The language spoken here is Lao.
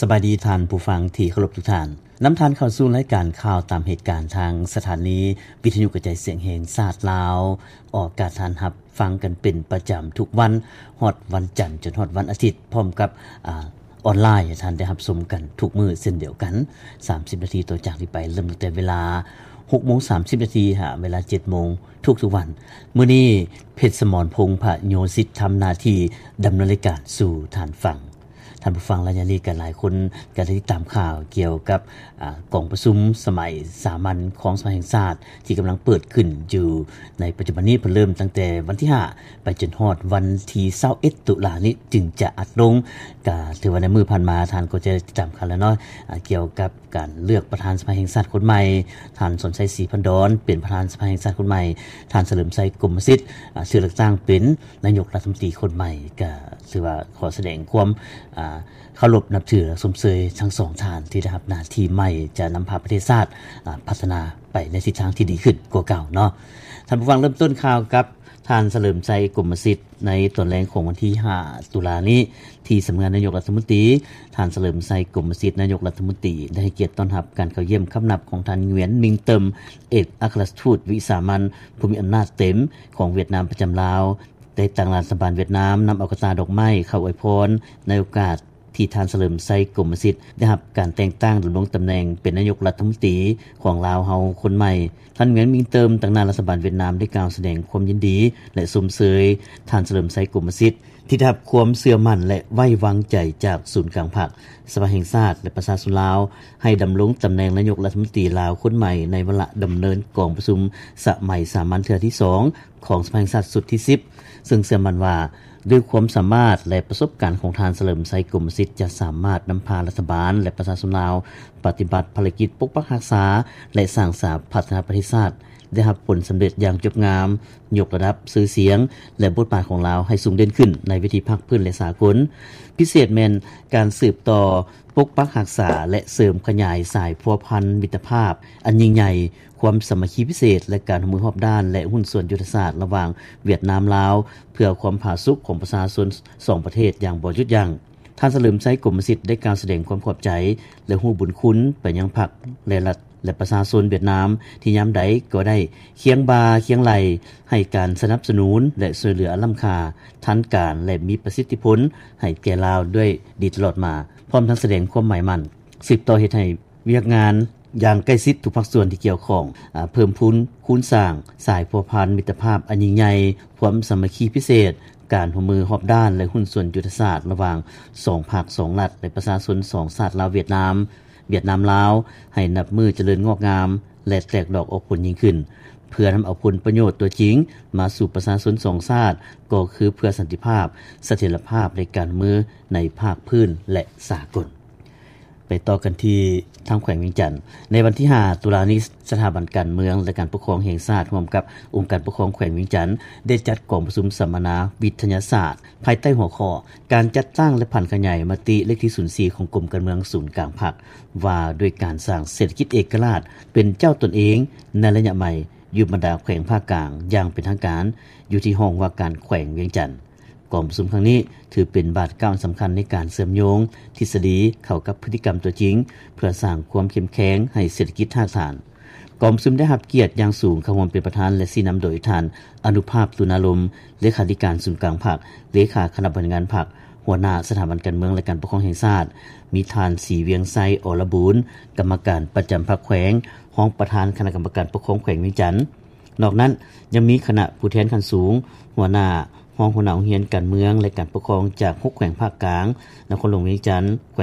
ສະບາຍດີທ່ານຜູ້ຟັງທີ່ເຄົາລົບທຸກທ່ານ. ນຳທ່ານເຂົ້າສູ່ລາຍການຂ່າວຕາມເຫດການທາງສະຖານີວິທະຍຸກະຈາຍສຽງແຫ່ງຊາດລາວ, ອອກອາກາດທ່ານຮັບຟັງກັນເປັນປະຈຳທຸກວັນ, ຮອດວັນຈັນຈົນຮອດວັນອາທິດ, ພ້ອມກັບ, ອາ, ອອນລາຍ ໃຫ້ທ່ານໄດ້ຮັບຊົມກັນທຸກມື້ເຊັ່ນດຽວກັນ. ສາມສິບນາທີຕໍ່ຈາກນີ້ໄປ, ເລີ່ມຕັ້ງແຕ່ເວລາຫົກໂມງສາມສິບນາທີ ຫາເວລາເຈັດໂມງທຸກໆວັນ. ມື້ນີ້ ເພັດສະໝອນ ພົງພະໂຍສິດ ທຳໜ້າທີ່ດຳເນີນລາຍການສູ່ທ່ານຟັງ. ທ່ານຜູ້ຟັງ, ໄລຍະນີ້ກໍຫຼາຍຄົນກໍໄດ້ຕິດຕາມຂ່າວກ່ຽວກັບ, ອາ, ກອງປະຊຸມສະໄໝສາມັນຂອງສະພາແຫ່ງຊາດ ທີ່ກຳລັງເປີດຂຶ້ນຢູ່ໃນປັດຈຸບັນນີ້. ເພິ່ນເລີ່ມຕັ້ງແຕ່ວັນທີຫ້າ ໄປຈົນຮອດວັນທີຊາວເອັດ ຕຸລານີ້ຈຶ່ງຈະອັດລົງ. ກໍຖືວ່າໃນມື້ຜ່ານມາທ່ານກໍຈະໄດ້ຕິດຕາມຂ່າວແລ້ວເນາະ, ອາ, ກ່ຽວກັບ ການເລືອກປະທານສະພາແຫ່ງຊາດຄົນໃໝ່, ທ່ານ ສອນໄຊ ສີພັນດອນ ເປັນປະທານສະພາແຫ່ງຊາດຄົນໃໝ່, ທ່ານ ສະເຫຼີມໄຊ ກົມມະສິດ ອາ, ຖືກເລືອກຕັ້ງເປັນນາຍົກລັດຖະມົນຕີຄົນໃໝ່. ກໍຖືວ່າຂໍສະແດງຄວາມ, ອາ, ເຄົາລົບນັບຖື ແລະ ຊົມເຊີຍທັງສອງທ່ານທີ່ໄດ້ຮັບໜ້າທີ່ໃໝ່ ຈະນຳພາປະເທດຊາດ, ອາ, ພັດທະນາໄປໃນທິດທາງທີ່ດີຂຶ້ນກວ່າເກົ່າເນາະ. ທ່ານຜູ້ຟັງ, ເລີ່ມຕົ້ນຂ່າວກັບ ທ່ານ ສະເຫຼີມໄຊ ກົມມະສິດ ໃນຕອນແລງຂອງວັນທີຫ້າ ຕຸລານີ້ ທີ່ສຳນັກງານນາຍົກລັດຖະມົນຕີ. ທ່ານ ສະເຫຼີມໄຊ ກົມມະສິດ ນາຍົກລັດຖະມົນຕີ ໄດ້ໃຫ້ກຽດຕ້ອນຮັບການເຂົ້າຢ້ຽມຄຳນັບຂອງທ່ານ ຫງວຽນ ມິງເຕີມ ເອກອັກຄະລັດທູດວິສາມັນຜູ້ມີອຳນາດເຕັມຂອງຫວຽດນາມປະຈຳລາວ ໄດ້ຕັ້ງລັດຖະບານຫວຽດນາມນຳເອົາກະຕ່າດອກໄມ້ເຂົ້າອວຍພອນ ໃນໂອກາດ ທີ່ທ່ານ ສະເຫຼີມໄຊ ກົມມະສິດ ໄດ້ຮັບການແຕ່ງຕັ້ງດຳລົງຕຳແໜ່ງເປັນນາຍົກລັດຖະມົນຕີຂອງລາວເຮົາຄົນໃໝ່. ທ່ານ ຫງວຽນ ມິງເຕີມ ຕາງໜ້າລັດຖະບານຫວຽດນາມ ໄດ້ກ່າວສະແດງຄວາມຍິນດີ ແລະ ຊົມເຊີຍທ່ານ ສະເຫຼີມໄຊ ກົມມະສິດ ທີ່ໄດ້ຮັບຄວາມເຊື່ອໝັ້ນ ແລະ ໄວ້ວາງໃຈຈາກສູນກາງພັກ, ສະພາແຫ່ງຊາດ ແລະ ປະຊາຊົນລາວ ໃຫ້ດຳລົງຕຳແໜ່ງນາຍົກລັດຖະມົນຕີລາວຄົນໃໝ່ ໃນວາລະດຳເນີນກອງປະຊຸມສະໄໝສາມັນເທື່ອທີສອງ ຂອງສະພາແຫ່ງຊາດຊຸດທີສິບ ເຊິ່ງເຊື່ອໝັ້ນວ່າ ດ້ວຍຄວາມສາມາດ ແລະ ປະສົບການຂອງທ່ານ ສະເຫຼີມໄຊ ກົມມະສິດ ຈະສາມາດນຳພາລັດຖະບານ ແລະ ປະຊາຊົນລາວ ປະຕິບັດພາລະກິດປົກປັກຮັກສາ ແລະ ສ້າງສາພັດທະນາປະເທດຊາດ ໄດ້ຮັບຜົນສຳເລັດຢ່າງຈົບງາມ, ຍົກລະດັບຊື່ສຽງ ແລະ ບົດບາດຂອງລາວໃຫ້ສູງເດັ່ນຂຶ້ນໃນເວທີພາກພື້ນ ແລະ ສາກົນ. ພິເສດແມ່ນການສືບຕໍ່ປົກປັກຮັກສາ ແລະ ເສີມຂະຫຍາຍສາຍພົວພັນມິດຕະພາບອັນຍິ່ງໃຫຍ່, ຄວາມສາມັກຄີພິເສດ ແລະ ການຮ່ວມມືຮອບດ້ານ ແລະ ຫຸ້ນສ່ວນຍຸດທະສາດລະຫວ່າງຫວຽດນາມ-ລາວ ເພື່ອຄວາມຜາສຸກຂອງປະຊາຊົນສອງປະເທດຢ່າງບໍ່ຢຸດຢັ້ງ. ທ່ານ ສະເຫຼີມໄຊ ກົມມະສິດ ໄດ້ກ່າວສະແດງຄວາມຂອບໃຈ ແລະ ຮູ້ບຸນຄຸນໄປຍັງພັກ ແລະ ລັດ ແລະ ປະຊາຊົນຫວຽດນາມ ທີ່ຍາມໃດກໍໄດ້ຄຽງບ່າຄຽງໄຫຼ່ ໃຫ້ການສະໜັບສະໜູນ ແລະ ຊ່ວຍເຫຼືອອັນລ້ຳຄ່າ, ທັນການ ແລະ ມີປະສິດທິຜົນໃຫ້ແກ່ລາວດ້ວຍດີຕະຫຼອດມາ, ພ້ອມທັງສະແດງຄວາມໝາຍໝັ້ນ ສືບຕໍ່ເຮັດໃຫ້ ວຽກງານຢ່າງໃກ້ຊິດທຸກພາກສ່ວນທີ່ກ່ຽວຂ້ອງ, ອາ, ເພີ່ມພູນຄູນສ້າງສາຍພົວພັນມິດຕະພາບອັນຍິ່ງໃຫຍ່, ຄວາມສາມັກຄີພິເສດ, ການຮ່ວມມືຮອບດ້ານ ແລະ ຫຸ້ນສ່ວນຍຸດທະສາດລະຫວ່າງສອງພັກສອງລັດ ແລະ ປະຊາຊົນສອງຊາດລາວ-ຫວຽດນາມ, ຫວຽດນາມ-ລາວ ໃຫ້ນັບມື້ຈະເລີນງອກງາມ ແລະ ແຕກດອກອອກຜົນຍິ່ງຂຶ້ນ, ເພື່ອນຳເອົາຜົນປະໂຫຍດຕົວຈິງມາສູ່ປະຊາຊົນສອງຊາດ, ກໍຄືເພື່ອສັນຕິພາບ, ສະຖຽນລະພາບ ແລະ ການຮ່ວມມືໃນພາກພື້ນ ແລະ ສາກົນ. ໄປຕໍ່ກັນທີ່ທາງແຂວງວຽງຈັນ. ໃນວັນທີຫ້າ ຕຸລານີ້, ສະຖາບັນການເມືອງ ແລະ ການປົກຄອງແຫ່ງຊາດ ຮ່ວມກັບອົງການປົກຄອງແຂວງວຽງຈັນ ໄດ້ຈັດກອງປະຊຸມສຳມະນາວິທະຍາສາດ ພາຍໃຕ້ຫົວຂໍ້ ການຈັດຕັ້ງ ແລະ ຜັນຂະຫຍາຍມະຕິເລກທີສູນສີ່ ຂອງກົມການເມືອງສູນກາງພັກ ວ່າດ້ວຍການສ້າງເສດຖະກິດເອກະລາດເປັນເຈົ້າຕົນເອງໃນໄລຍະໃໝ່ ຢູ່ບັນດາແຂວງພາກກາງຢ່າງເປັນທາງການ ຢູ່ທີ່ຫ້ອງວ່າການແຂວງວຽງຈັນ. ກອງປະຊຸມຄັ້ງນີ້ຖືເປັນບາດກ້າວອັນສຳຄັນໃນການເຊື່ອມໂຍງທິດສະດີເຂົ້າກັບພຶດຕິກຳຕົວຈິງ ເພື່ອສ້າງຄວາມເຂັ້ມແຂງໃຫ້ເສດຖະກິດຮາກຖານ. ກອງປະຊຸມໄດ້ຮັບກຽດຢ່າງສູງເຂົ້າຮ່ວມເປັນປະທານ ແລະ ຊີ້ນຳໂດຍທ່ານ ອະນຸພາບ ຕຸນາລົມ ເລຂາທິການສູນກາງພັກ, ເລຂາຄະນະບໍລິຫານງານພັກ, ຫົວໜ້າສະຖາບັນການເມືອງ ແລະ ການປົກຄອງແຫ່ງຊາດ, ມີທ່ານ ສີວຽງໄຊ ອລະບູນ ກຳມະການປະຈຳພັກແຂວງ, ຮອງປະທານຄະນະກຳມະການປົກຄອງແຂວງວຽງຈັນ. ນອກນັ້ນຍັງມີຄະນະຜູ້ແທນຂັ້ນສູງ, ຫົວໜ້າ, ຮອງຫົວໜ້າໂຮງຮຽນການເມືອງ ແລະ ການປົກຄອງຈາກຫົກແຂວງພາກກາງ, ນະຄອນຫຼວງວຽງຈັນ, ແຂວງ